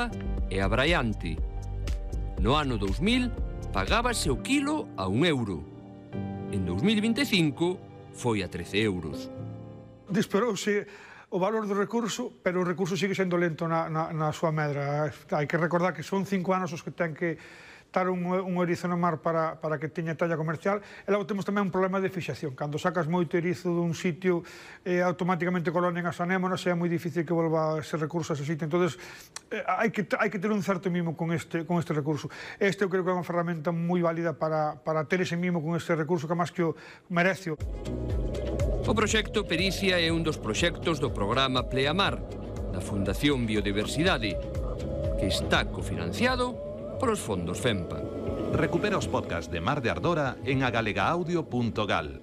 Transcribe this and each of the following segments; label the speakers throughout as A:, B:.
A: nova e abraiante. No ano 2000 pagábase o quilo a €1. En 2025 foi a 13 euros.
B: Disparouse o valor do recurso, pero o recurso sigue sendo lento na súa medra. Hai que recordar que son 5 anos os que ten que estar un erizo no mar para que teña talla comercial. E logo temos tamén un problema de fixación. Cando sacas moito erizo dun sitio, automáticamente colonen as anémonas e é moi difícil que volva ese recurso a ese sitio. Entón, hai que ter un certo mimo con este recurso. Este eu creo que é unha ferramenta moi válida para ter ese mimo con este recurso, que máis que o merece.
A: O proxecto Pericia é un dos proxectos do programa Pleamar, da Fundación Biodiversidade, que está cofinanciado polos fondos FEMPA.
C: Recupera os podcasts de Mar de Ardora en agalegaudio.gal.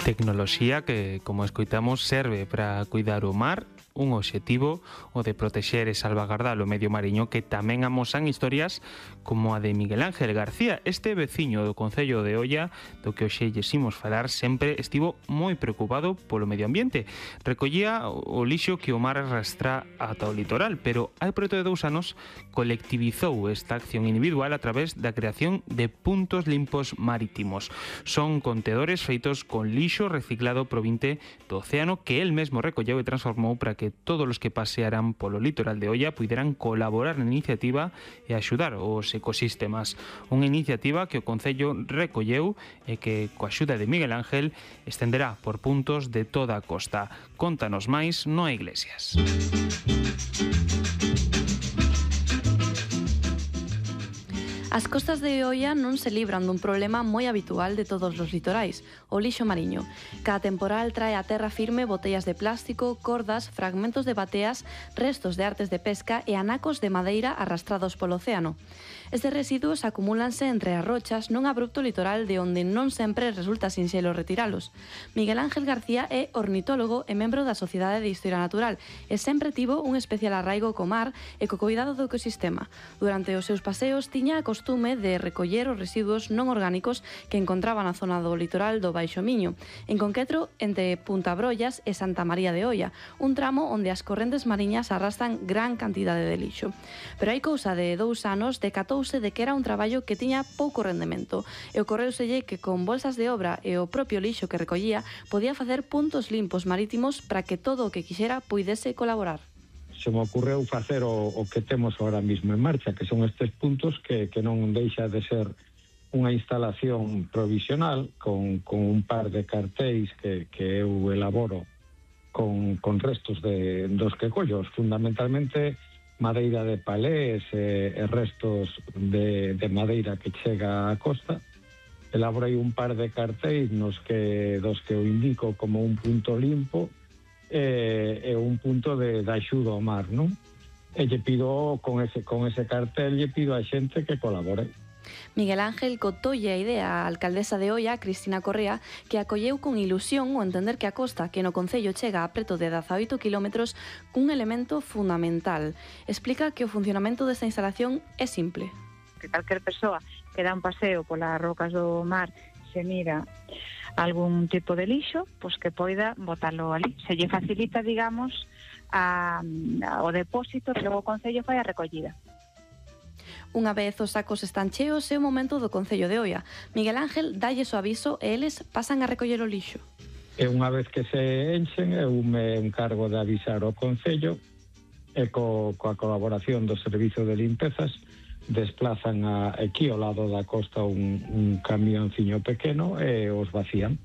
D: Tecnoloxía que, como escoitamos, serve para cuidar o mar, un obxectivo, o de protexer e salvagardar o medio mariño, que tamén amosan historias como a de Miguel Ángel García. Este veciño do Concello de Oia, do que hoxe lles imos falar, sempre estivo moi preocupado polo medio ambiente. Recollía o lixo que o mar arrastra ata o litoral, pero hai preto de 2 anos colectivizou esta acción individual a través da creación de puntos limpos marítimos. Son contedores feitos con lixo reciclado provinte do océano que el mesmo recolleu e transformou para que todos os que pasearan polo litoral de Oia puderan colaborar na iniciativa e axudar os ecosistemas. Unha iniciativa que o Concello recolleu e que, coa axuda de Miguel Ángel, estenderá por puntos de toda a costa. Contanos máis Noa Iglesias.
E: As costas de Oia non se libran dun problema moi habitual de todos os litorais, o lixo mariño. Cada temporal trae a terra firme botellas de plástico, cordas, fragmentos de bateas, restos de artes de pesca e anacos de madeira arrastrados polo océano. Estes residuos acumúlanse entre as rochas nun abrupto litoral de onde non sempre resulta sinxelo retiralos. Miguel Ángel García é ornitólogo e membro da Sociedade de Historia Natural e sempre tivo un especial arraigo co mar e co cuidado do ecosistema. Durante os seus paseos tiña a costume de recoller os residuos non orgánicos que encontraba na zona do litoral do Baixo Miño, en concreto entre Punta Brollas e Santa María de Oia, un tramo onde as correntes mariñas arrastran gran cantidade de lixo. Pero hai cousa de 2 anos decatouse de que era un traballo que tiña pouco rendemento e ocorreuselle que con bolsas de obra e o propio lixo que recollía podía facer puntos limpos marítimos para que todo o que quixera puidese colaborar.
F: Se me ocurreu facer o que temos ahora mismo en marcha, que son estes puntos que non deixa de ser unha instalación provisional con un par de cartéis que eu elaboro con restos dos que collo, fundamentalmente madeira de palés e restos de madeira que chega á costa. Elaborei un par de cartéis dos que eu indico como un punto limpo e un punto de axuda ao mar, non? E lle pido, con ese cartel, lle pido a xente que colabore.
E: Miguel Ángel cotolle a idea á alcaldesa de Oia, Cristina Correa, que acolleu con ilusión o entender que a costa, que no Concello chega a preto de 18 kilómetros, cun elemento fundamental. Explica que o funcionamento desta instalación é simple.
G: Que calquer persoa que dá un paseo polas rocas do mar se mira algún tipo de lixo, pois que poida botalo ali. Se lle facilita, digamos, o depósito e logo o Concello fai a recollida.
E: Unha vez os sacos están cheos, é o momento do Concello de Oia. Miguel Ángel dálles o aviso e eles pasan a recoller o lixo.
F: E unha vez que se enchen, eu me encargo de avisar ao Concello e coa colaboración do Servizo de Limpezas desplazan aquí ao lado da costa un camionciño pequeno e os vacían.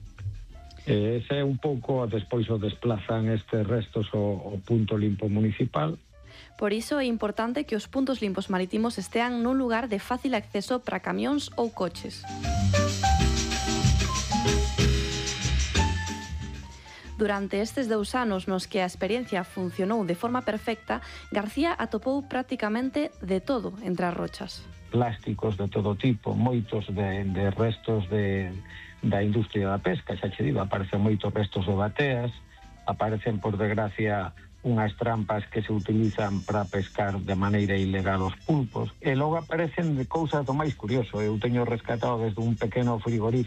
F: Ese é un pouco, despois o desplazan estes restos ao punto limpo municipal.
E: Por iso é importante que os puntos limpos marítimos estean nun lugar de fácil acceso para camións ou coches. Durante estes 2 anos nos que a experiencia funcionou de forma perfecta, García atopou prácticamente de todo entre as rochas.
F: Plásticos de todo tipo, moitos de restos da industria da pesca, xa che digo, aparecen moitos restos de bateas, aparecen, por desgracia, unhas trampas que se utilizan para pescar de maneira ilegal os pulpos, e logo aparecen de cousas do máis curioso. Eu teño rescatado desde un pequeno frigorífico